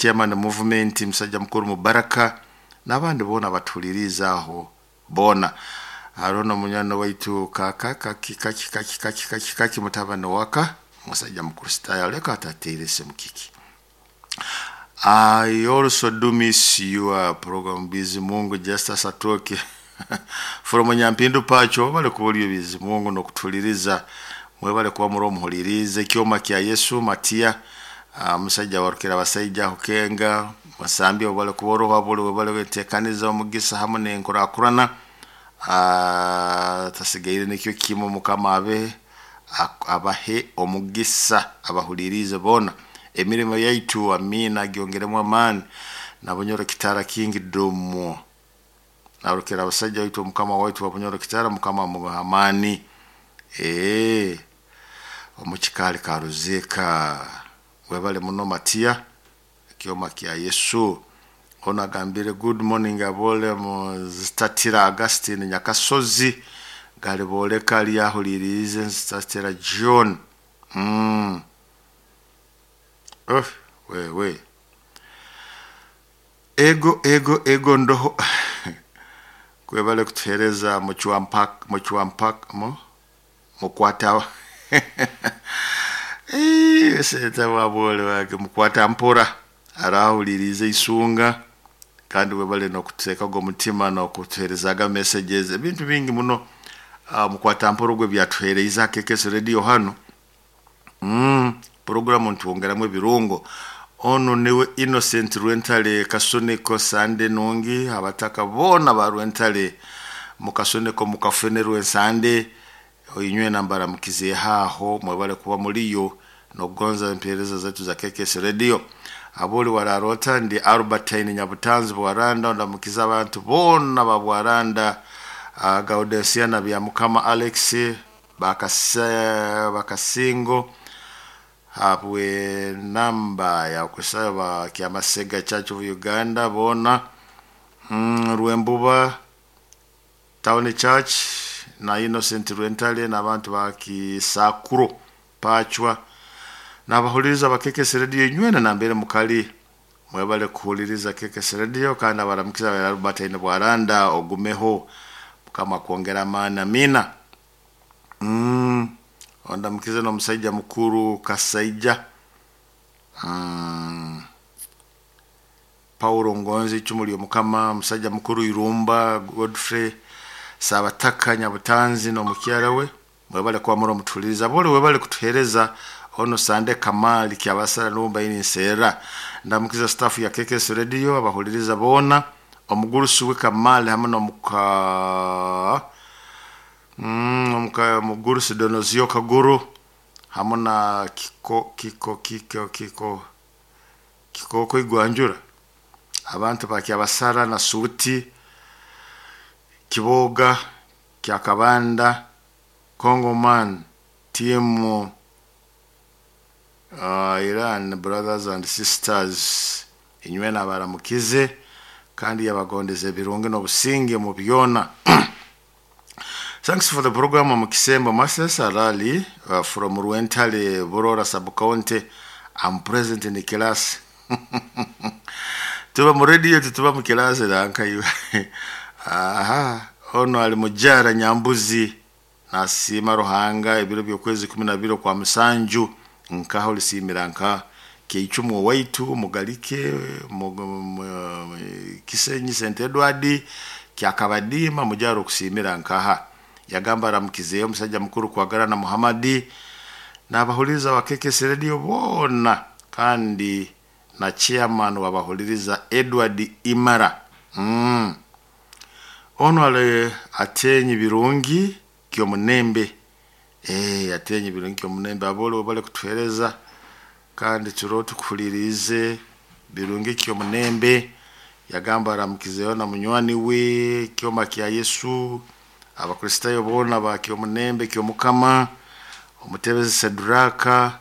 Chairman movement musajja mukuru Mubaraka n'abandi boona batuhuliriza aho boona. Hariho n'omunywani waitu kaka kaki kaki kaki kaki kaki kaki mutabani waka musajja mukristaayo aleka atateire esimu kiki. I also do miss your program Bizimungu Justus Atoke from Nyampindu Pacho. Bale kubolyo Bizimungu n'okutuliriza, mwebale kuba muri omuhulirize ekyoma kya Yesu Matia, musajja warukira abasaija hukenga musambi obale kuboroha buli webale wetekaniza omugisa hamu n'enkurakurana. Tasigaire nikyo kimu, Mukama abe abahe omugisa abahulirize boona emirimo yaitu, amina, agyongeremu amaani. Nabunyoro Kitara Kingdom narukira abasajja waitu, omukama waitu Wabunyoro Kitara, Mukama amuha amaani. Omukikaali Karuzeka, webale muno Matiya ekyoma kya Yesu. Ono agambire good morning abole muzitatira Augustine Nyakasozi galiboleka lyahulirize nzitatira John. Oh, wewe ego ego ego ndoho kwebale kutuhereza muchwampak muchwampak mu mukwata senta wabole wake mukwata mpora arahulirize isunga, kandi webale nokuteekaga omutima nokutuherezaga messages ebintu bingi muno. Mukwata mpora ogwe byatuhereize akekesi radio hano. Programu ntwongeramu ebirungo. Ono niwe Innocent Rwentale Kasoneko Sande nungi abataka boona ba Rwentale mukasoneko mukafene Rwensande inywe nambara mukize haho, mwebale kuba muliyo nokugonza empereza zetu za KKS Radio. Aboli wararota ndi Albertine Nyabutanzi Bwaranda, ndamukiza abantu boona ba Bwaranda, Gaudensia na bya Mukama Alex Bakasingo habwe namba ya kusaba Kyamasega Church of Uganda bona, Rwembuba Town Church na Innocent Rwentale n'abantu ba Kisakuro Pachwa n'abahuliriza ba KKS Radio nywena nambere mukali, mwebale kuhuliriza KKS Radio. Kandi abaramukiza Albertine Bwaranda, ogumeho Mukama kwongera amaani, amina. Ondamukize n'omusajja mukuru Kasaija, Paulo Ngonzi icumu ly'Omukama, musajja mukuru Irumba Godfrey Sabataka Nyabutanzi n'omukyala we, mwebale kuba muri omutuhuliriza bole, webale kutuhereza. Ono Sande Kamali Kyabasara numba ini nseera ndamukiza staff ya KKS Radio abahuliriza boona, omugurusi we Kamali hamwe n'omuka omuka mugurusi Donozio Kaguru hamwe na kiko kiko kiko kiko kikoko igwanjura abantu ba Kyabasara na Suti Kiboga Kyakabanda Congoman timu, Iran brothers and sisters inywe nabaramukize kandi yabagondeze ebirungi n'obusinge mu byona. Thanks for the program Mukisembo Masters Arali, from Rwentale Burora sub-county. I'm present in the class. Tuba mu radio tutuba mu class ranka iwe. Aha, ono ali mujara Nyambuzi nasiima Ruhanga ebiro by'okwezi 12 kwa musanju nkaho lisimira nka keicumu waitu mugalike Kisenyi St Edward kyakabadima mujaro okusimira nkaha yagamba aramukizeyo omusajja mukuru kwagara na Muhammadi n'abahuliriza wa KKS Radio boona kandi na chairman wabahuliriza Edward Imara. Ono ale atenyi birungi kyomunembe, atenyi birungi kyomunembe abole bale kutuhereza kandi turo tukuhulirize birungi kyomunembe. Yagamba aramukizeyo na munywani we kyoma kya Yesu abakristayo boona ba kyomunembe kyomukama omutebezi Sedraka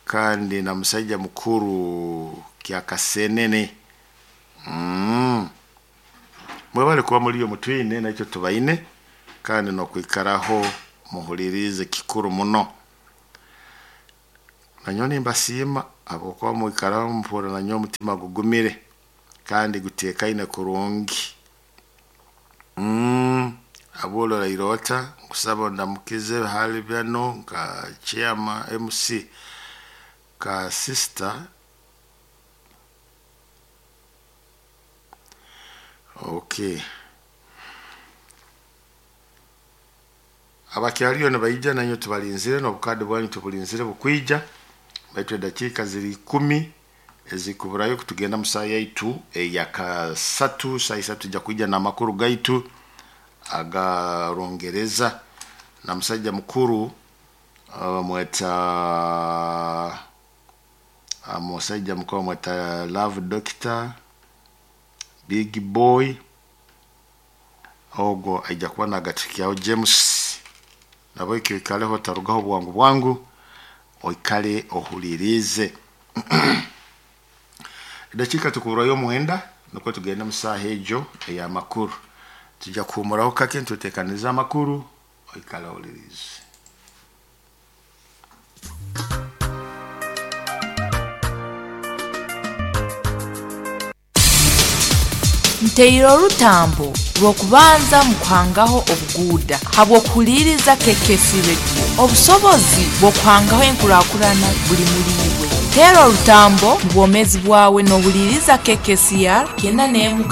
kandi na musajja mukuru Kyakasenene. Mwebale kuba muri iyo mutwine nakyo tubaine kandi no kwikaraho muhulirize kikuru muno. Nanyowe nimbasiima habwokuba mwikaraho muhurra nanyowe omutima gugumire kandi guteekaine kurungi. Abolora Irota nkusaba ondamukize hali bano nka chairman MC ka sister. Okay, abakyaliyo nibaija nanyowe tubalinzire n'obukadi bwanyu tubulinzire bukwija, baitu edakiika ziri 10 ezikuburayo kutugenda mu saaha yaitu eyakasatu. Saaha isatu tujja kwija n'amakuru gaitu aga Rungereza na musaija mukuru bamweta musaija mukuru bamweta Love Doctor Big Boy, ogwo aija kuba nagatuhikyaho James. Nahabweki oikaleho otarugaho bwangu bwangu, oikale ohuliriize. Edakiika tukuburayo 9 nukwo tugende mu saaha egyo ey'amakuru. Tujja kuhuumuraho kake nituteekaniza amakuru, oikale ohuliriize. Nteire orutambo rw'okubanza mu kuhangaho obuguuda habw'okuhuliiriza KKC Radio. Obusobozi bw'okuhangaho enkurakurana buli muli iwe. Teera orutambo mu bwomeezi bwawe n'ohuliiriza KKCR 91.